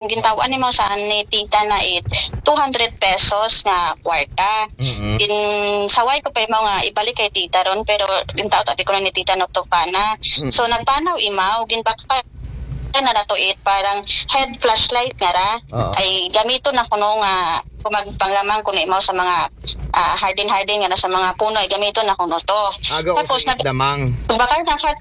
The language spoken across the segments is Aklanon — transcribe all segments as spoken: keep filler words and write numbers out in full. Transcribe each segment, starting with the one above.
Gintaw-an nimo sa ni tita na it two hundred pesos nga kwarta. Mm-mm. Ginsaway ko pa imaw nga ibalik kay tita ron, pero gintaw-an ta, di ko na ni tita nagtukpana. Mm. So nagpanaw imaw, ginbakal na nato it parang head flashlight nga ra. Oo. Ay gamiton na kuno nga kung magpanglamang kuno imaw sa mga ah, hardin-hardin nga na sa mga puno, ay gamiton na kuno to. Aga Tapos usay nag- damang. Pagbakal na kat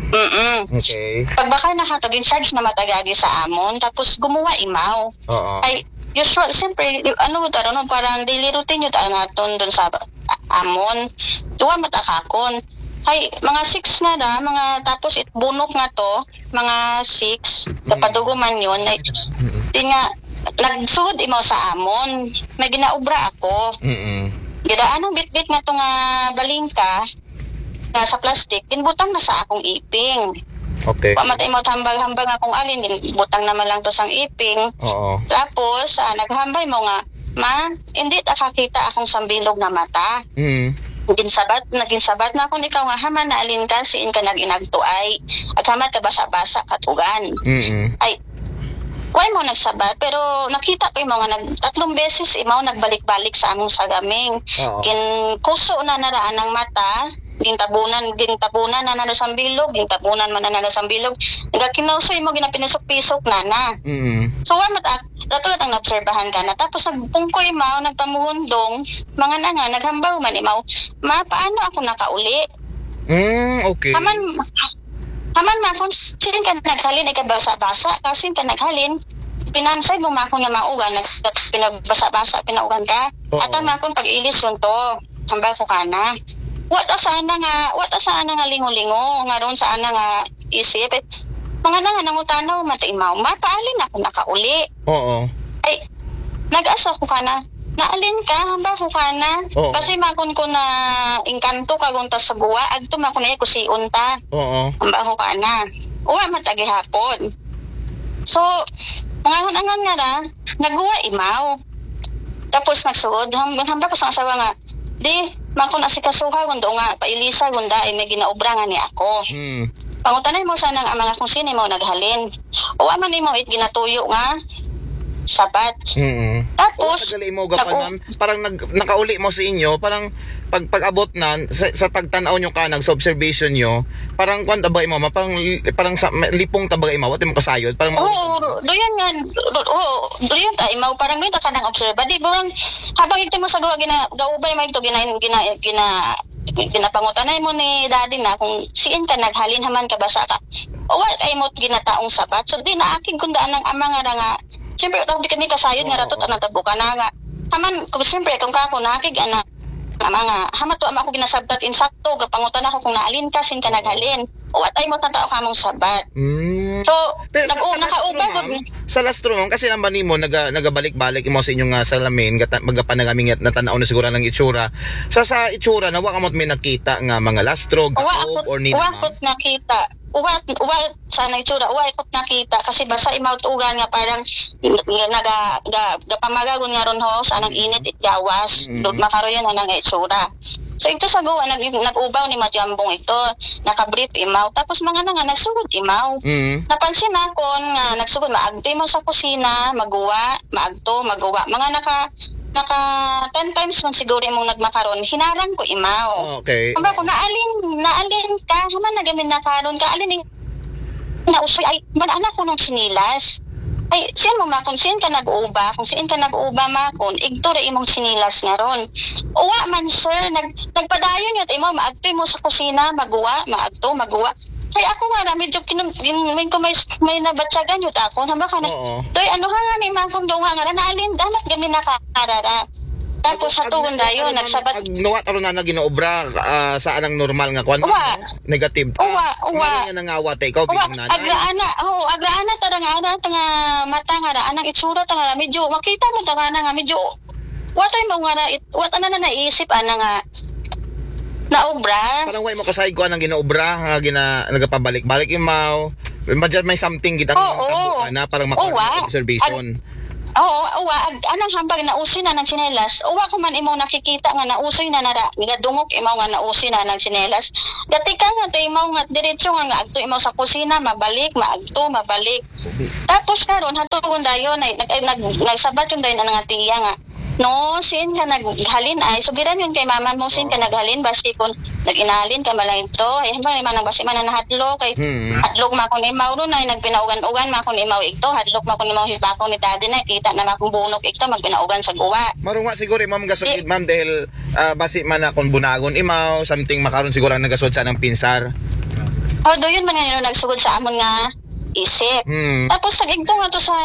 Mm-mm. Okay. Pagbakal na kato, gin-charge na matag agi sa amon, tapos gumuwa imaw. Oo. Ay, usual, siyempre, ano mo taro, no? Parang daily routine yun ang aton dun sa a- amon. Duwa matakakon. Ay, mga six na na, mga tapos it bunok nga to, mga six, napadugo man yun. Ay, di nga, nagsud imaw sa amon. May ginaobra ako. Mm-mm. Gidaan ang bitbit nga to nga balingka, nga sa plastic, ginbutang na sa akong iping. Okay. Wa man ta imaw hambal-hambal nga kung alin, ginbutang na man lang to sang iping. Oo. Tapos, ah, naghambal mo nga, "Ma, hindi ta kakita akong sambilog na mata." Mm. Ginsabat, naginsabat na akong ikaw nga, "Haman na alin ka, siin ka nag-inagtuay. Aghamat ka basa-basa katugan." Mm-mm. Ay, why mo nagsabat? Pero nakita ko imaw nga nag, tatlong beses imaw nagbalik-balik sa among sagaming. Oo. Ginkuso na naraan ang mata, gintabunan, gintabunan na nano sambilog, gintabunan man na nano sambilog. Nga kinuso imaw, ginapinisok-pisok na na. Mm. So, wa mat-, rato lang naobserbahan ka na. Tapos nagpungkoy imaw, nagpamuhundong, mga na nga, naghambaw man imaw, "Ma, paano ako nakauli?" Mm, okay. Haman, haman ma kung siin ka naghalin, ay kabasa-basa, kasin ka naghalin, pinansay mo ma kung nga maugan, nag-, pinagbasa-basa, pinaugan ka. Oo. Ata ma kung pag-ilis yun to, hambal ko ka na. Wa ta sana nga, wa ta sana nga lingo-lingo, nga ron sana nga isip. Mga na nga nangutanaw, mata imaw, "Ma, paalin ako nakauli?" Oo. Ay, nag-asa ko ka na. "Naalin ka, hambal ko ka na." Oo. Kasi makon ko na engkanto ka gunta sa guwa, agto makon na kusiun ta. Oo. Hambal ko ka na. Uwa matagihapon. So, mga hunangan nga ra, naguwa imaw. Tapos nagsugod, ham-, hambal ko sa asawa nga, "Di, makon asikasuha, gundo nga, pailisa, gunda, ay may ginaobra nga ni ako." Mm. Pangutanay mo sana nga mga kung sino mo naghalin. O aman imo it ginatuyo nga sabat. Mm. Tapos, Tagali mo nag- gapanan, parang nag, nakauli mo sa inyo, parang pag pag-abot na sa, sa pagtanaw nyo ka, nag sa observation nyo, parang kwan tabagay mo, ma, parang parang sa may- lipong tabagay mo, wala mo kasayod, parang Oo, doon nga, do- oo, doon ta imaw, parang doon ta ka nang obserba. Di ba, habang ito mo sa gawa, gina, gaubay mo ito, gina, gina, gina, ginapangutanay mo ni daddy na kung siin ka naghalin haman ka basa ka. O wa kay mo ginataong sabat. So, di naakig kung daan ang ama nga ra nga. Siyempre, tawag di kami kasayod nga Oo. Ratot, ang natabuka na nga. Haman, kung siyempre, kung kako nakig, anak, ama nga, hamat wa man ako ginasabtat insakto, gapangutan ako kung naalin ka, sin ka naghalin. O wa tay mo tao kamong sabat. Mm. So, Pero sa, nag-, sa nakauban lastro, ma'am, sa lastro, ma'am, kasi naman nimo, naga, nagabalik-balik mo sa inyong nga salamin, gata, magapanagami nga natanaw na siguro ng itsura. Sa, sa itsura, na wa ka mo may nakita nga mga lastro, Uwa gaob, ako, or ni uwa ma'am? Ako't nakita. Uwa, uwa, sana itsura, uwa ako't nakita. Kasi basa imaw tugan nga parang nga naga, ga, gapamagagon nga ron ho, sa anang init it gawas. Mm. Doon makaroyan na nang itsura. So, ito sa guwa, nag, nag-ubaw ni Matyambong ito. Nakabrief imaw. Tapos mga na nga, nagsugod imaw. Mm. Napansin ako nga nagsugod, maagto imaw sa kusina, maguwa, maagto, maguwa. Mga naka, naka ten times man siguro imong nagmakaron, hinarang ko imaw. Okay. Ang ba ko, naalin, naalin ka, haman na gamin na karon ka, alin yung nausoy, ay, man anak ko ng sinilas. Ay, siyan mo ma, kung siyan ka nag-uba, kung siyan ka nag-uba ma, kung igto ra imong sinilas nga ron. Uwa man, sir, nag, nagpadayon yun, imo, maagto mo sa kusina, maguwa, maagto, maguwa. Kay ako nga ra, medyo kinum-, kin-, may, ko may, may nabatyagan yun ako, hamba ka na, Oo. Doy, ano ha nga ni ma, kung doon nga ra, naalin, damat gamin na karara. Tapos sa tugon dayon, nagsabat. Ag nuwat aron na ginaobra ah, sa anang normal nga kwan? Uwa. Negative. Uwa, uwa. Mali nga nangawa ta ikaw, Uwa, bilang nanay. agraana, oh, agraana ta nga, ana, ta nga mata nga ra, anang itsura ta nga ra, medyo, makita mo ta nga na nga, medyo, wa tay mo nga ra, it, wa ta na na naisip, ana nga, naobra. Parang way mo kasayod ko anang ginaobra, nga gina, nagapabalik-balik imaw. Imagine may something kita Oo. Nga na, parang makuha Uwa. Observation. Oo, uwa, ag-, anang hambal, nausoy na nang tsinelas. Uwa ko man imaw nakikita nga nausoy na nara, nga dungog imaw nga nausoy na nang tsinelas. Gatikang nga to imaw nga diretso nga, nga agto imaw sa kusina, mabalik, maagto, mabalik. Tapos karon, hatugon dayon, ay, nag-, ay, nag-, nagsabat yun dayon ang nga tiya nga, "No, sin ka naghalin ay, sugiran yun kay mama mo, sin ka naghalin, basi kung nag-inalin ka malang ito, ay, hambal, manang basi man na nahadlok, kay hadlok makon imaw ron ay, nagpinaugan-ugan makon imaw ito, hadlok makon imaw hibakon ni daddy na, kita na makong bunok ito, magpinaugan sa guwa." Marunga siguro, ma'am, gasugid, ma'am, dahil, ah, basi man na kung bunagon imaw, something makaron siguro ang nagasod sa nang pinsar. Oh, do yun man nga yun nagsugod sa amon nga isip. Hmm. Tapos, pag igto nga to sa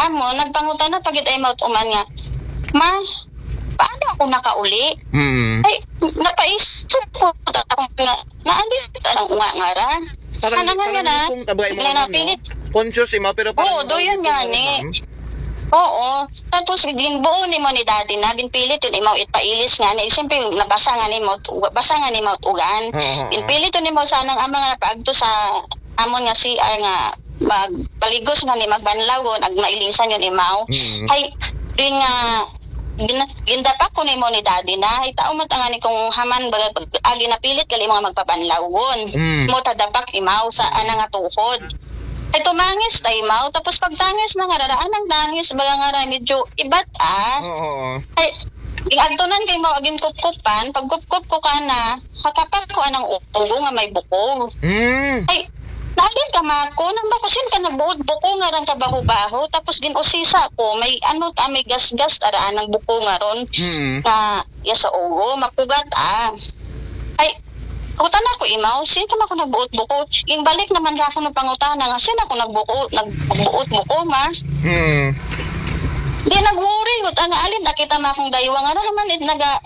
amo, nagpangutana pagid ay maut uman nga, "Ma, paano ako nakauli?" Hmm. Ay, napaisip ko ako nga, naandit ka ng unga nga ra. Parang, Ano nga parang nga na? Kung tabay mo Nga naman, no? napilit. Conscious imaw, pero parang Oo, do yun nga ni. Ma'am. Oo. Tapos, ginbuo ni mo ni daddy na, ginpilit yun imaw itpailis nga ni. Siyempre, nabasa nga ni mo, basa nga ni mo ugan. Oo, oo. Ginpilit yun imaw sa nang ama nga paagto sa amon nga C R nga magpaligos na ni magbanlaw, ag mailisan yun imaw. Mm. Hay, din nga, gin-, gindapak ko nimo ni daddy na, hay tao man tanga ni kung haman, baga, agi napilit, gali mo nga magpabanlawon. Mm. Mo tadapak imaw sa ana nga tuhod. Ay tumangis ta imaw, tapos pagtangis na nga raraan ang tangis, baga nga ra, medyo ibat ah. Oo, oo. Ay, ing agtunan kay mo, agin kupkupan, pagkupkup ko ka na, hakapak ko anang ulo nga may bukol. Mm. Ay, naalin ka, Mako, nang bako sin ka nagbuod buko nga rang kabaho-baho, tapos gin-usisa ko, may ano ta, may gasgas, taraan ng buko nga ron, Mm. na, ya sa ulo, makugat, ah. Ay, utan ako, imaw, sin ka ako nagbuot buko? Yung balik naman ra ako ng pangutana nga, sin ako nagbuko, nagbuot buko, ma? Mm. Di nag-worry, utan nga, alin, nakita mo akong daywa nga, ano naman, it, naga,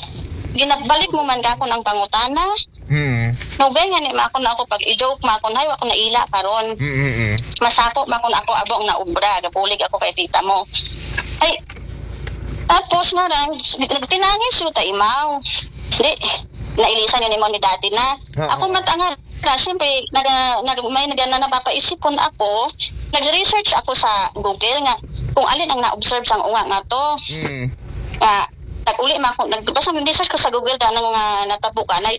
ginabalik mo man ka ako ng pangutana? Hmm. Nugay nga ni ma ako na ako pag i-joke ma ako na, "Hay, wa ko naila karon." Mm, mm, mm. Masako ma ako na ako abong na obra, gapulig ako kay tita mo. Ay, tapos nga ra, nagtinangis yun ta imaw. Di, nailisan yun imaw ni daddy na. Ah, Ako ah. matanga ra, siyempre, naga, naga, may naga, na napapaisip kun ako, nag-research ako sa Google nga kung alin ang na-observe sang unga nga to. Mm. Nga, nag-uli ma ako, nag-, basta nag-research ko sa Google na nang, ah, natabo ka, na,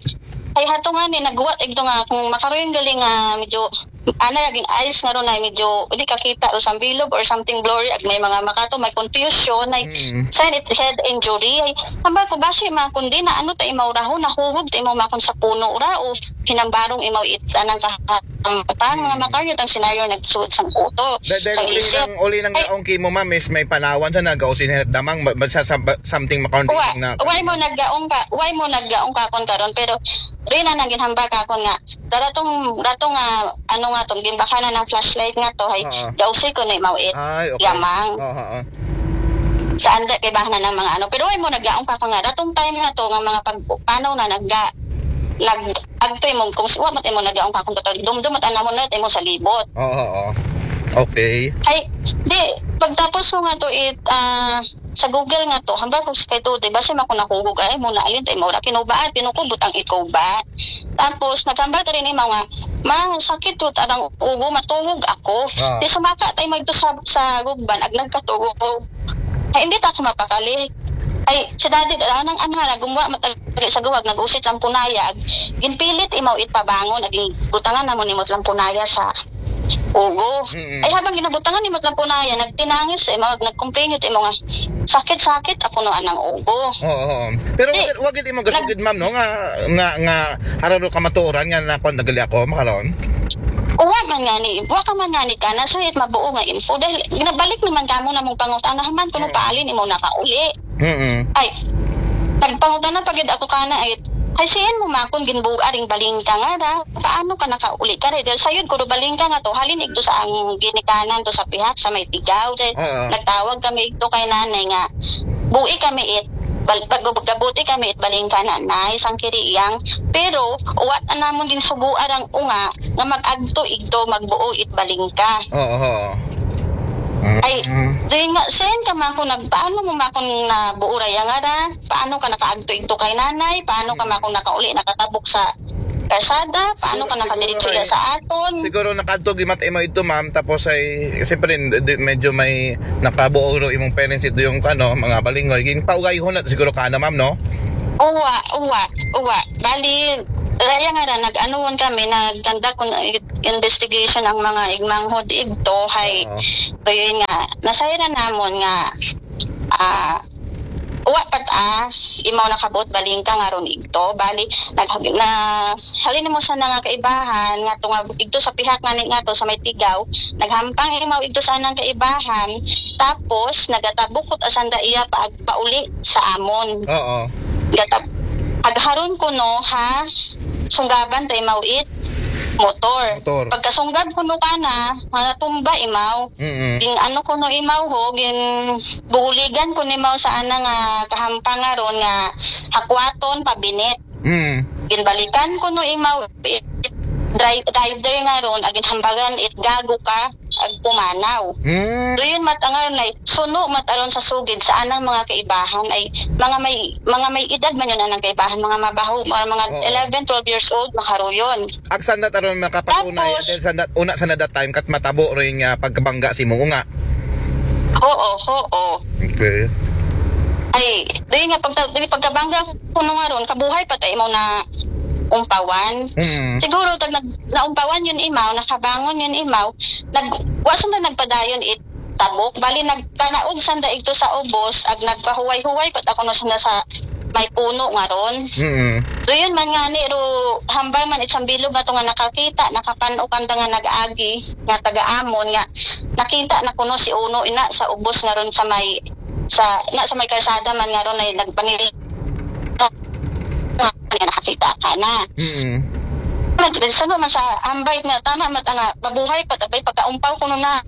ay hato nga ni, nagwa, igto nga, kung makaroon galing nga, medyo, ana, naging eyes nga ron na medyo, hindi kakita, o sa bilog, or something blurry, ag may mga makato, may confusion, ay, Mm. sign it head injury, ay, hambal ko, basi ma, kundi na, ano, ta imaw raho, nahuhog, ta imaw makon sa puno ra, o hinambarong imaw it, anang kahamatan, mga Mm. makaryo, tang senaryo, nagsuot sang uto, Da-, dahil sang uli isip. ng, uli ng Ay, gaong kimo, ma'am, is may panawan sa nagausin at damang, ba-, ba-, sa, sa, ba-, something makaroon Wa, na. why mo naggaong ka, why mo naggaong ka kon karon, pero rin na nang ginhambal ka kon nga, daratong, daratong nga, ano nga tong, gimbakana ng flashlight nga to, hay, Oo. gausi ko na mawit, Ay, okay. yamang. Oo, oo. Sa anda, kay bahana ng mga ano, pero why mo naggaong ka kon nga, datong time nga to, nga mga pag, paano na nagga, nag, agto imong, kung wa mo, imo naggaong ka kon to, dumdum at anamon na, imo sa libot. Oo, oo. Okay. Ay, di, pagtapos ko nga to, it, ah, sa Google nga to, hambal ko sa kay to, di ba, siya makon nakugog, ay, mo na, alin, tayo, mura, kinubaan, pinukubot ang ikuba. Tapos, naghambal ka rin yung mga, ma, sakit to, tarang ugo, matulog ako. Ah. Di sumaka, tayo, magto sa, sa gugban, ag nagkatulog. Ay, hindi ta ako mapakali. Ay, si daddy, anang, anang, gumuha, matag-, sa guwag, nag-usit lang punaya, ag, ginpilit, imaw, it pabangon, aging butangan, namo, nimot lang punaya sa ugo. Mm-mm. Ay, habang ginabutangan ni Matlampunaya, nagtinangis, eh, mag-, nagkomplain yun, eh, mga sakit-sakit, ako no anang ugo. Oo, oo. Pero Di, wag, wag imo gasugid, nag- ma'am, no? Nga, nga, nga, hararo ka maturan, nga, na, kung nagali ako, makaroon? Uwa man nga ni, uwa ka man nga ni ka, nasa it mabuo nga info. Dahil, ginabalik naman ka mo na mong pangutana, man, kung Oo. paalin, imo nakauli. Mm-mm. Ay, nagpangutana pa gid ako kana, ay, ay, siyan mo makon ginbuga ring balingka nga ra, paano ka nakauli ka ra? Dahil sayod ko do balingka nga to, halin igto sa ang ginikanan to sa pihak sa may tigaw. Dahil Oo. nagtawag kami igto kay nanay nga, bui kami it, bal-, pag-, gabuti kami it balingka nanay, sang kiriiyang. Pero, wa na namon ginsugo arang unga, nga mag-agto igto, magbuo it balingka. Oo, oo. Ay, Mm. doon nga, siyan ka mako nag-, paano mo mako na buo ra yang ara? Paano ka nakaagto igto kay nanay? Paano ka Mm. mako nakauli, nakatabok sa karsada, paano ka nakadiretso sa aton? Siguro nakadto gimat imo ito, ma'am, tapos ay siyempre di, medyo may nakabuo ro imong parents ito yung ano, mga balingoy. Ging paugay ho na siguro ka na, ma'am, no? Uwa, uwa, uwa. Bali, raya nga ra, nag-anuhon kami, nagtanda kung investigation ang mga igmanghod igto, hay, Oo. Pero yun nga, nasayran namon nga, ah, uwa pat ah, imaw nakabuot balingka nga ron igto. Bali, nag, na, halin mo sa nga kaibahan, nga tunga igto sa pihak nga ni nga to, sa may tigaw, naghampang imaw igto sa nang kaibahan, tapos nagatabukot asanda iya pa pauli sa amon. Oo. Gatab, agharon ko no ha, sunggaban tay mawit motor. Motor. Pagkasunggab ko no kana, mga tumba imaw. Mm. Ging ano ko no imaw ho, gin buligan ko ni imaw sa ana nga kahampang nga ron nga hakwaton pabinit. Mm. Ginbalikan ko no imaw, it, dri-, rider nga ron, agin hambagan it gago ka, ag pumanaw. Mm. Doon mat ang aron ay suno mat aron sa sugid sa anang mga kaibahan ay mga may mga may edad man yun anang kaibahan, mga mabaho, mga, mga Oo. eleven, twelve years old, makaruyon. Aksan na taron makapatunay Tapos- dahil sa that, una sa that time kat matabo rin nga pagkabangga si mo nga. Oo, oo. Okay. Ay, dili nga pagka, dili pagkabangga ko nung aron, kabuhay pa tayo mo na umpawan. Mm. Siguro tag nag, naumpawan yun imaw, nakabangon yun imaw, nag, wa sanda nagpadayon it tabok. Bali nagpanaog sanda igto sa ubos, ag nagpahuway-huway pat ako no sanda sa may puno nga ron. Mm. Doon man nga ni ro hambal man isang bilog nga to nga nakakita, nakapanukan da nga nag-agi nga taga-amon nga nakita na kuno si Uno ina sa ubos nga ron sa may sa na sa may kalsada man nga ron ay nagpangil nga nakakita ka na. Mm. Nagresulta man sa ambay nga tama mat nga mabuhay pat abay pagkaumpaw kuno na.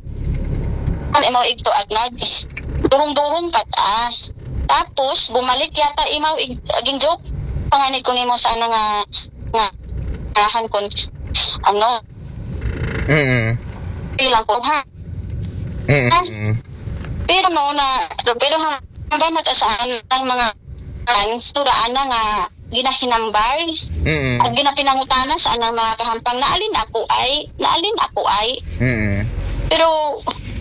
Ano mo igto agnag duhong-duhong pat ah. Tapos bumalik yata imaw ig, aging joke panganit ko nimo sa ana nga nga ahan kun ano Mm. bilang ko ha. Mm. Pero no na pero hambal matasaan ang mga fans turaan na nga ginahinambal Mm. at ginapinangutana sa anang mga kahampang naalin ako ay naalin ako ay Mm. pero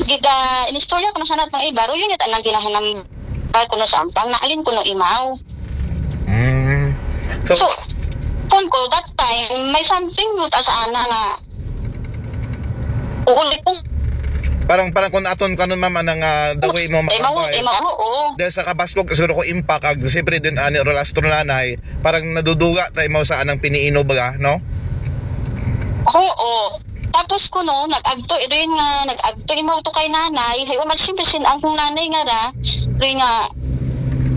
giga inistorya ko na sana tong iba ro yun yung anang ginahinambal ko na sa ampang naalin ko no imaw Mm. So, so kung ko that time may something mo ta sa ana nga uuli ko parang parang kung aton kanon mama nang ah, the way mo Emo, makabay. emo, oo. Dahil sa kabaskog siguro ko impact ag siyempre din ani rolastro nanay parang naduduga tayo mo sa anang piniino baga, no? Oo. Tapos kuno, nag-agto rin nga, nag-agto imaw to kay nanay. Hay, umat siyempre sin ang kong nanay nga ra, rin nga,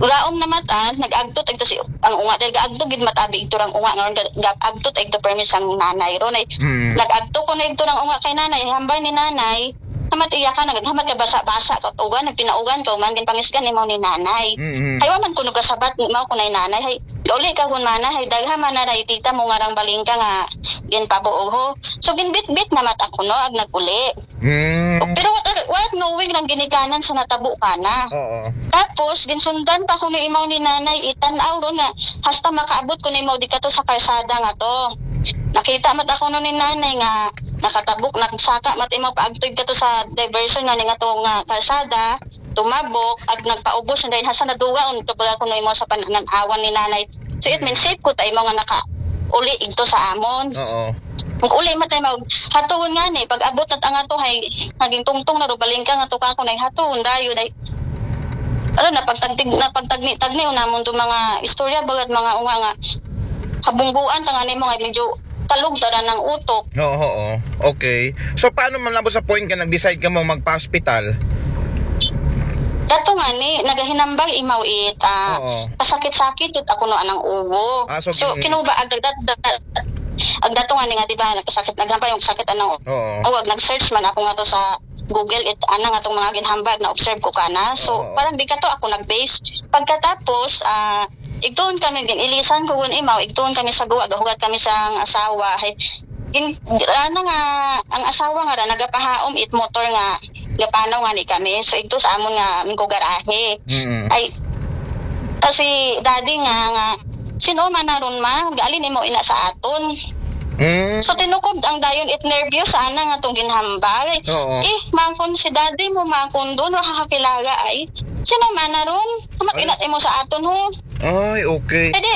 ulaom na mata, nag-agto tagto si ang unga dahil gaagto gid matabi ito rang unga nga ga- gaagto tagto permi sang nanay ron ay Mm. nag-agto ko na ito rang unga kay nanay hambal ni nanay hamat iya ka naghamat ka basa-basa ka ugan nagpinaugan ka uman gin pangisgan imaw ni nanay Mm. Hay wa man kuno kasabat ni mao kunay nanay hay uli ka hun mana hay dagha man na ray tita mo nga rang balingka nga ginpabuog ho. So ginbitbit na mat ako no ag naguli. Mm. Pero what, what knowing lang ginikanan sa natabo kana. Oo. Tapos ginsundan pa ko ni imaw ni nanay itan-aw ron nga hasta makaabot ko ni imaw di kato sa karsada nga to. Nakita mat ako no ni nanay nga nakatabok nagsaka mat imaw paagtoy kato sa diversion nga ni nga to nga karsada. Tumabok ag nagpaubos na dahil hasta naduwa on to pala kuno imaw sa panan-awan ni nanay. So it means safe ko ta imaw nga naka uli igto sa amon. Oo. Ang uli matay mag hatuon nga ni pag abot na tanga to hay naging tungtong na rubaling ka nga to ka ko nay hatuon dayo day. Ano na pagtagtig na pagtagni tagni unamon to mga istorya bagad mga unga nga habungguan ta nga nimo nga medyo kalog tara ng utok. Oo, oo. Okay. So paano man nabot sa point nga nag-decide ka mo magpa-hospital? Dato nga ni nagahinambal imaw it ah, Oo. pasakit-sakit tut ako no anang ugo. Ah, so, so kin- kinuba agdat agdato nga ni nga di ba nagkasakit naghambal yung sakit anang Oo. ugo. Nag-search man ako nga to sa Google it ana nga tong mga ginhambal na observe ko kana. So Oo. parang di ka to ako nag-base. Pagkatapos ah igtuon kami gin ilisan ko gun imaw igtuon kami sa guwa gahugat kami sa asawa. Hay gin ana nga ang asawa nga ra nagapahaom it motor nga gapanaw nga ni kami. So igto sa amon nga mingko garahe. Mm. Ay kasi daddy nga nga "Sino man na ron, ma? Gaalin imo ina sa aton?" Mm. So, tinukob ang dayon it nervyos sa ana nga tong ginhambal. Oo. "Eh, makon si daddy mo, makon doon, makakakilala ay. Sino man na ron? Amat Ay. Ina imo sa aton, ho." Ay, okay. Kadi,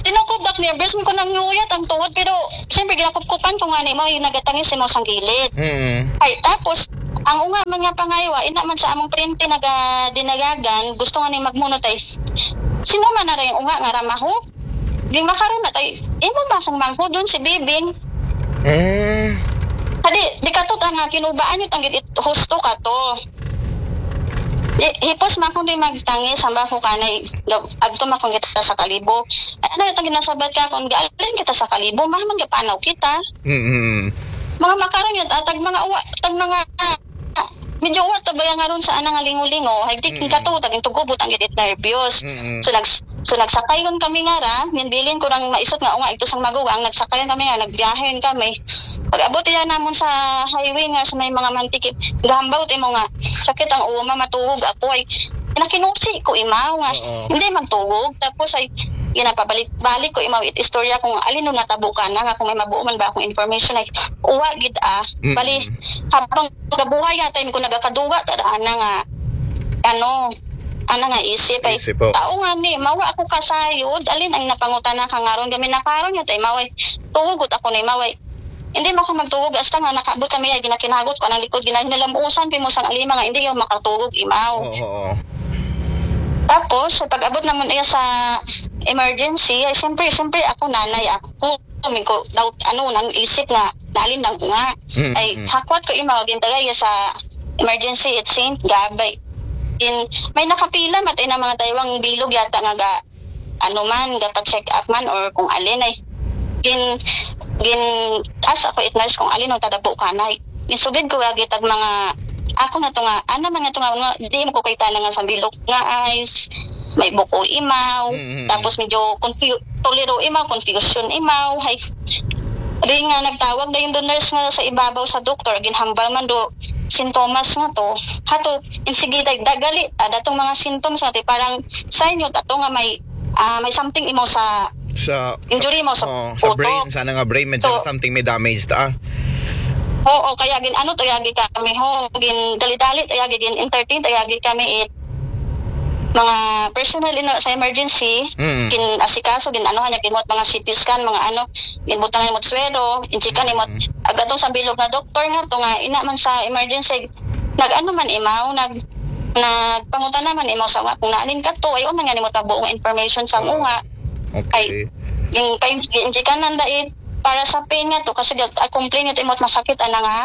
tinukob ak nervyos ko nang nguyat ang tuhod, pero siyempre ginakupkupan ko nga ni mo yung nagatangis mo sang gilid. Mm. Ay, tapos, ang unga man nga pangaywa, ina man sa among printe nagadinagagan, gusto nga ni magmunot ay, "Sino man na rin unga nga ramaho?" Di makaroon na tayo, imo ba kung mangko doon si Bibing? Mm. Kadi, di ka to nga kinubaan yung tanggit it husto ka to. Di, hipos man kung di magtangis, ang bako kanay, agto man kung kita sa kalibo. Ay, ano yung ginasabat ka kung gaalin kita sa kalibo, maman gapanaw kita. Mm. Mga makaroon yun, ah, tag mga uwa, tag mga, ah, medyo uwa, tabaya nga ron sa anang lingo-lingo, higtik Mm. ka to, taging tugubot ang gidit nervyos. Mm. So, nags, so, nagsakayon kami nga ra, minbilin ko rang maisot nga, unga, ito sang maguwang, nagsakayon kami nga, nagbiyahen kami. Pag-abot yan namon sa highway nga, sa may mga mantikip, gahambaw, timo nga, sakit ang uma, matuhog ako, ay, nakinusi ko, imaw, nga, Oo. hindi magtuhog. Tapos, ay, ginapabalik-balik ko, imaw, it istorya kung alin nung natabo ka na, nga kung may mabuo man ba akong information, ay, uwa, gid, ah. Mm. Bali, habang gabuhay yata, ko nagakaduga, tara, ana nga, ano, ana nga isip, ay, Isip, oh. Tao nga ni, mawa ako kasayod, alin ang napangutana ka nga ron, kami nakaron yata, ay, maway, tugot ako ni, maway. Hindi mo ako magtugot, basta nga nakabot kami, ay, ginakinagot ko, anang likod, ginahinalam-usan, pimo sang alima, nga, hindi yung makatugot, imaw. Oo, oo. Tapos, sa pag-abot naman iya sa emergency, ay, siyempre, siyempre, ako, nanay, ako, may ko, doubt, ano, nang isip nga, nalin lang ko nga. Mm, Ay, mm. Hakwat ko, imaw, gintagay iya sa emergency at Saint Gab, ay, in, may nakapila, matay na mga taywang bilog, yata, nga, ga, ano man, gapa-check up man, or kung alin, ay, gin, gin, as ako, it nurse, kung alin, o tadabo ka na, ay, gisugid ko, agi, tag mga, ako na to nga, ana man nga to nga, nga, di mo ko kita na nga sa bilog nga eyes, may buko imaw, Mm, mm, tapos medyo confu-, tuliro imaw, confusion imaw, hay, di nga nagtawag na yung nurse nga sa ibabaw sa doktor, ginhambal man do, sintomas nga to, hato, insigida, dagali, ah, datong mga symptoms nga to, parang sign yun, ato nga may, ah, may something imaw sa Sa, injury mo sa oh, sa utok. Brain, sana nga brain, medyo So, something may damage ta, ah. Oo, kaya gin ano to yagi kami ho, gin dali-dali to yagi, gin entertain to yagi kami it mga personal ino sa emergency, Mm. gin asikaso, gin ano niya, gin mga C T scan, mga ano, gin butang mo suero, injikan mo, Mm. agratong sa bilog na doktor nga to nga ina man sa emergency, nag ano man imaw, nag nagpangutana man imaw sa nga kung naalin ka to, ay o man nga nimo buong information sa Oo. unga. Okay. Yung kay injikan nanda it para sa pain nga to kasi gat a complain it imot masakit ana nga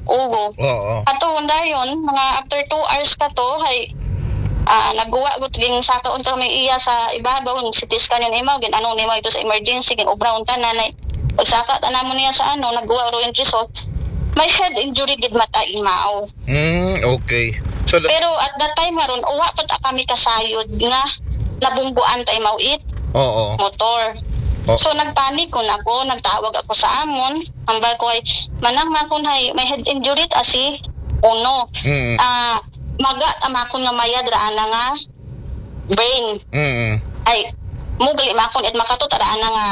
ugo. Oo. Ato dayon mga after two hours ka to hay ah, nagguwa gut ging saka unta may iya sa ibabaw ng C T scan yung imaw gin ano nimo ito sa emergency gin obra unta nanay pagsaka ta namo niya sa ano nagguwa ro yung result may head injury gid mata imaw. Mm, okay. So, la- Pero at that time nga ron, uwa pa ta kami kasayod nga nabungguan ta imaw it oo. motor. Oh. So nagpanic ko na ako, nagtawag ako sa amon. Hambal ko ay manang makon hay may head injury ta si uno. Mm. Ah, maga ta makon nga mayad ra ana nga brain. Mm. Ay mo gali makon it makato ta ra ana nga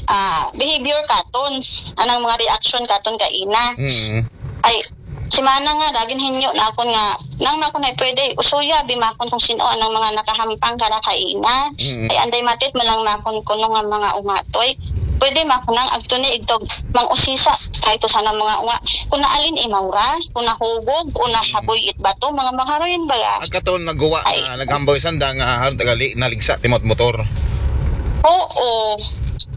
ah, behavior katon. Anang mga reaction katon ka ina. Mm. Ay, si mana nga, dagin hinyo na akon nga, nang makon ay pwede, usuya, bi makon kung sino anang mga nakahampang kara kaina. Mm. Ay, anday matit malang makon kuno nga mga unga to. Ay, pwede makon nang agto ni igtog mang usisa, kay to sana mga unga. Kung naalin imaw ra, kung nahugog, kung nahaboy it bato, mga makaroyin ba ya? Agkaton naguwa Ay. Na naghamboy sanda nga haron tagali naligsa timot motor. Oo.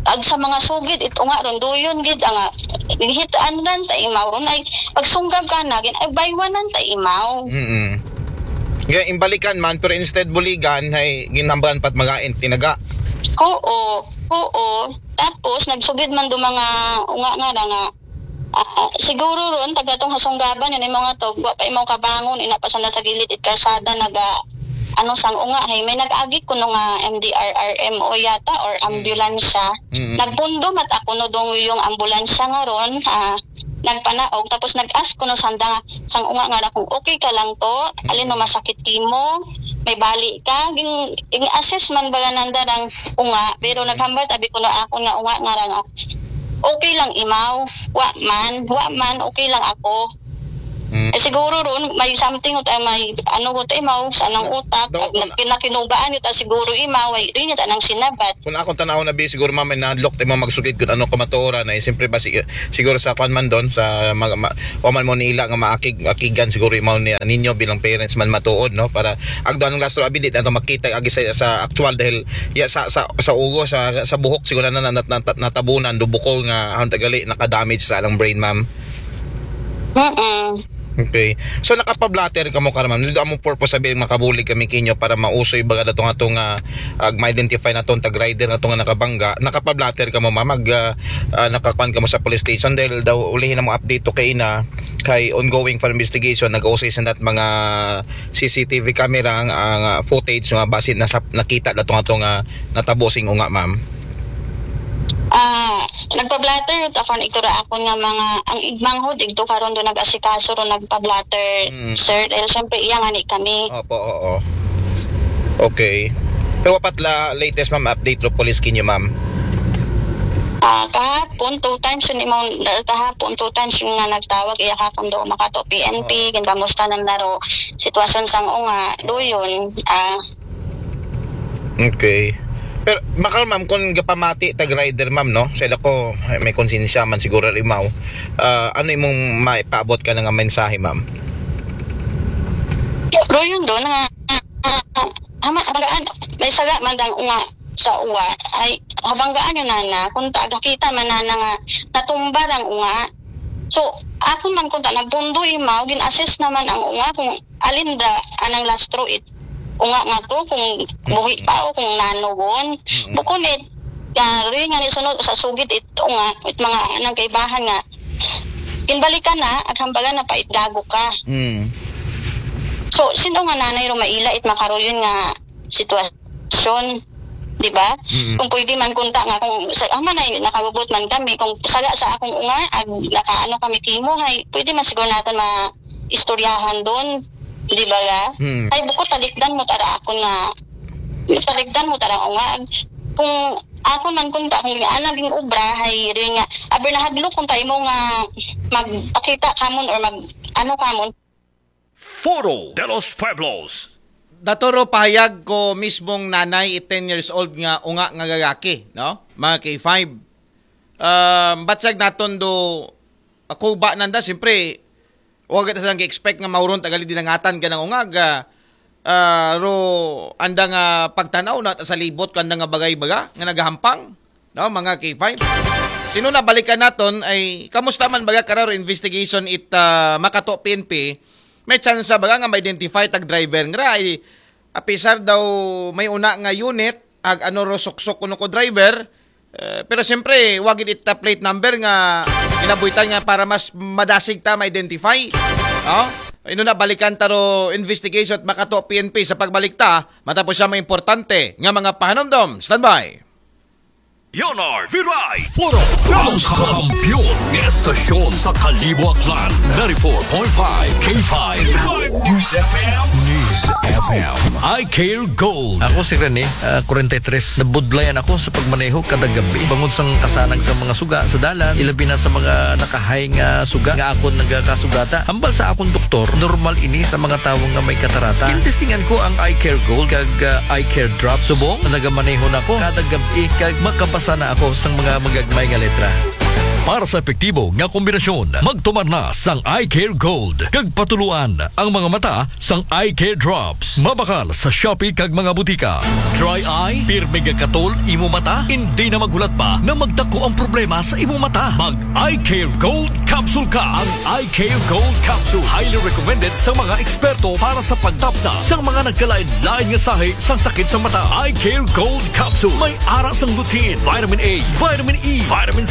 Ag sa mga sugid, ito nga, ronduyon gid, ang hitaan ran ta imaw, ron ay, pagsunggab ka na, gin, ay, baywanan ta imaw. Mm. Kaya imbalikan man, pero instead buligan, hay ginambalan pat magain, tinaga. Oo, oo. Tapos, nagsugid man do mga unga nga na nga, ah, siguro ron, tagatong hasunggaban, yun yung mga to, wa pa imaw kabangon, ina pa sana sa gilid, it karsada, naga, ano sang unga, hay, may nag-agi kuno nga M D R R M O yata, or ambulansya. Mm. Nagpundo mat ako no dong yung ambulansya nga ron, ah, nagpanaog, tapos nag-ask ko no sanda nga, sang unga nga na kung okay ka lang to, alin no masakit kimo, may bali ka, ging, ging assess man ba nanda ang unga, pero naghambal tabi ko na ako nga unga nga rang, okay lang imaw, wa man, wa man, okay lang ako. Mm. Eh, siguro ron, may something ut, ah, may ano ko imaw sa nang utak, Daw, at nakin-, nakinugaan yun, ah, siguro imaw, ay, yun yun, anang sinabat. Kung akong tanaw na bi, siguro, ma'am, may nahadlok tayo magsugid kung ano ka matuoran na, eh, siyempre ba, sig- siguro sa kwan man doon, sa mag, ma, wa man mo nila nga maakig, akigan, siguro, imaw ni ninyo bilang parents man matuod, no? Para agdo anong lastro abi, di na to makita agi sa, sa actual dahil ya, sa, sa, sa ugo, sa, sa buhok, siguro na, na, na, na, natabunan, dubuko nga, ang tagali, nakadamage sa alang brain, ma'am. Mm-mm. Okay. So, nakapablatter ka mo, Karma'am. Dito among purpose sabi, makabulig kami kinyo para mausoy baga datong atong, ah, ag ma-identify na tong tag rider na tong nakabangga. Nakapablatter ka mo, ma'am. Mag, ah, ah, nakakuan ka mo sa police station dahil daw ulihin na mo update to kay ina kay ongoing for investigation. Nag-usay sa nat mga C C T V camera ang, ang, ah, footage nga basin nasa, nakita datong atong, ah, natabo sing unga, ma'am. Ah, nagpa-blatter yun ako, ang igtura ako nga mga, ang igmanghod, igto karon do nag-asikaso ro nagpa-blatter, Mm. sir. Dahil syempre, iya nga ni kami. Opo, oo. Okay. Pero wapat la latest, ma'am, update ro police kinyo, ma'am. Ah, kahapon, two times yun, imong, kahapon, two times yung nga nagtawag, iya ka kung do makato P N P, Oo. Ginkamusta nang naro sitwasyon sang unga, do yun, ah, Okay. Pero, makal, ma'am, kung gapamati tag rider, ma'am, no? Sa ila ko, may konsensya man siguro rimaw. Ah, ano imong maipaabot ka na nga mensahe, ma'am? Pero yun doon, nga, ah, ah, ama, habanggaan, may saga man dang unga sa uwa, ay, habanggaan yun, nana, kung ta, nakita man, nana, nga natumba ang unga. So, ako man kung ta, nagbundo imaw, gin-assess naman ang unga kung alin da, anang lastro it, unga nga to, kung buhi pa o kung nanugon. Mm. Bukon it, yari nga ni sunod sa sugid it unga, it mga anang kaibahan nga, ginbalikan na, at hambagan na pa it gago ka. Mm. So, sino nga nanay ro maila it makaroyon nga sitwasyon, di ba? Mm. Kung pwede man kunta nga, kung sa, ah, man ay nakagubot man kami, kung saga sa akong unga, ag nakaano kami kimo, ay pwede man siguro natin ma-istoryahan doon, di ba ga? Mm. Ay, bukod talikdan mo tara ako nga, talikdan mo tara unga, ag kung ako man kunta, kung ana ging obra, ay rin nga, aber nahadlok kung tayo mo nga magpakita kamon or mag, ano kamon, Foro de los Pueblos. Daturo pahayag ko mismong nanay, ten years old nga unga nga gagaki, no? Mga K five. Um, batsag naton do, ako ba nanda, siyempre, wag kita silang expect nga mauron tagali dinangatan ka ng ungag, ah, ah, ro, anda nga pagtanaw na sa libot, kanda nga bagay baga, nga nagahampang, no, mga K five. Sino na balikan naton ay, kamusta man baga kararo investigation it, ah, Makato P N P, may chance baga nga ma-identify tag driver nga ay, apisar daw may una nga unit, ag ano ro suksok kuno ko driver, eh, pero siyempre, wag it ta plate number nga inabuitan nga para mas madasig ta ma-identify. No? Ino na balikan ta ro investigation at Makato P N P sa pagbalik ta, matapos siya mga importante nga mga pahanumdom. Standby. Leonard Viray. Foro, ang kampiyon ng estasyon sa Kalibo, Aklan. Ninety-four point five K five News F M. News F M. I Care Gold. Ako si Rene, ah, forty-three. Nabudlayan ako sa pagmaneho kada gabi. Bangod sang kasanag sa mga suga sa dalan, ilabi na sa mga nakahay nga suga nga akon nagakasugata. Hambal sa akong doktor, normal ini sa mga tawo nga may katarata. Gintestingan ko ang Eye Care Gold kag, ah, Eye Care Drop. Subong, nagamaneho na ko kada gabi kag makabasa na ako sang mga magagmay nga letra. Para sa epektibo nga kombinasyon, magtumar na sang Eye Care Gold kag patuluan ang mga mata sang Eye Care Drops. Mabakal sa Shopee kag mga butika. Dry eye? Pirmi gakatol imo mata? Hindi na maghulat pa na magdako ang problema sa imo mata. Mag Eye Care Gold Capsule ka. Ang Eye Care Gold Capsule highly recommended sa mga eksperto para sa pagtapna sa mga nagkalain-lain nga sahi sa sakit sa mata. Eye Care Gold Capsule may ara sang lutein, vitamin A, vitamin E, vitamin